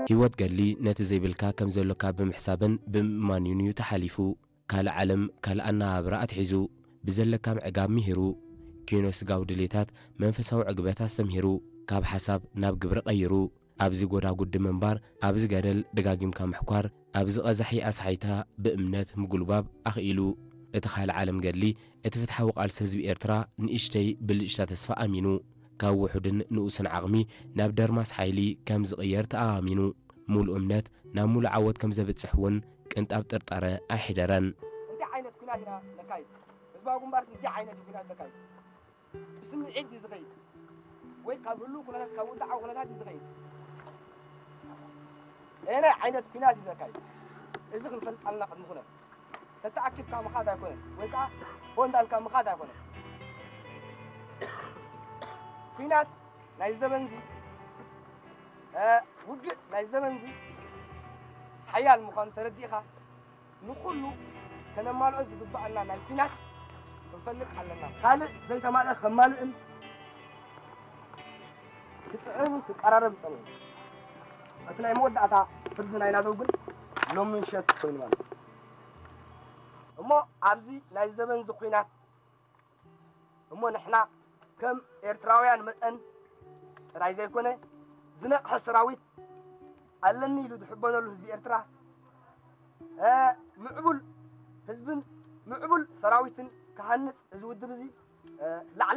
ህይወት ገድሊ ነቲ ዘይብልካ ከም ዘሎካ ብምሕሳብን ብምእማን'ዩን እዩ ተሓሊፉ። ካልእ ዓለም፣ ካልእ ኣነባብራ ኣትሒዙ፣ ብዘለካ ምዕጋብ ምሂሩ፣ ኪኖ ስጋዊ ድሌታት መንፈሳዊ ዕግበት ኣስተምሂሩ፣ ካብ ሓሳብ ናብ ግብሪ ቀይሩ፣ ኣብዚ ጎዳጉዲ ምንባር፣ ኣብዚ ገደል ደጋጊምካ ምሕኳር፣ ኣብዚ ቀዛሒ ኣስሓይታ ብእምነት ምጉልባብ ኣኽኢሉ። እቲ ካልእ ዓለም ገድሊ፣ እቲ ፍትሓዊ ቃልሲ ህዝቢ ኤርትራ ንእሽተይ ብልጭታ ተስፋ ኣሚኑ፣ ካብ ውሑድን ንኡስን ዓቕሚ ናብ ደርማስ ሓይሊ ከም ዝቕየር ተኣማሚኑ፣ ሙሉእ እምነት ናብ ሙሉእ ዓወት ከም ዘብጽሕ እውን ቅንጣብ ጥርጣረ ኣይሕደረን። እንታይ ዓይነት ኲናት ኢና ነካይድ? ህዝባዊ ግንባርስ እንታይ ዓይነት እዩ ኲናት ዘካይድ? ብስምዒት እዩ ዝኸይድ ወይ ካብ ህሉው ኩነታት፣ ካብ ውድዓዊ ኩነታት እዩ ዝኸይድ? ኣየናይ ዓይነት ኲናት እዩ ዘካይድ? እዚ ክንፈልጥ ኣለና ቅድሚ ኩነት። ተተኣኪብካ ምኻድ ኣይኮነን፣ ወይ ከዓ ሆ እንዳልካ ምኻድ ኣይኮነን። ኲናት ናይ ዘበንዚ፣ እ፣ ውግእ ናይ ዘበንዚ ሓያል ምዃኑ ተረዲእኻ፣ ንኹሉ ከነማልኦ ዝግባኣና ናይ ኲናት ክንፈልጥ ኣለና። ካልእ ዘይተማልአ ከማልእን ክጽዕርን ክቀራረብ ይጸንሑ። እቲ ናይ መወዳእታ ፍርዲ ናይ ናደው ግን ሎሚ ምሸት ኮይኑ ማለት እዩ። እሞ ኣብዚ ናይ ዘበንዚ ኲናት እሞ ንሕና ከም ኤርትራውያን መጠን ጥራይ ዘይኮነ፣ ዝነቕሐ ሰራዊት ኣለኒ ኢሉ ዝሕበነሉ ህዝቢ ኤርትራ፣ እ፣ ምዕቡል ህዝብን ምዕቡል ሰራዊትን ክሃንጽ እዚ ውድብ እዚ፣ እ፣ ላዕሊ